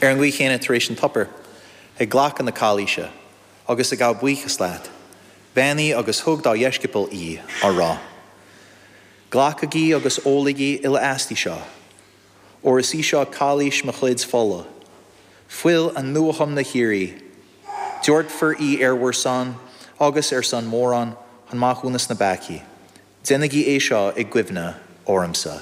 Ar an gcaoi chéanna, tar éis an tsuipéir, ag glacadh na cailíse, agus ag gabháil buíochas leat, bheannaigh agus thug dá dheisceabail í, á rá, Glacaigí agus ólaigí uile aisti seo, óir is í seo cailís mo chuid fola, fuil an nuathiomna shíoraí. Doirtfear í ar bhur son agus ar son mórán chun maithiúnas na bpeacaí. Déanaigí é seo i gcuimhne ormsa.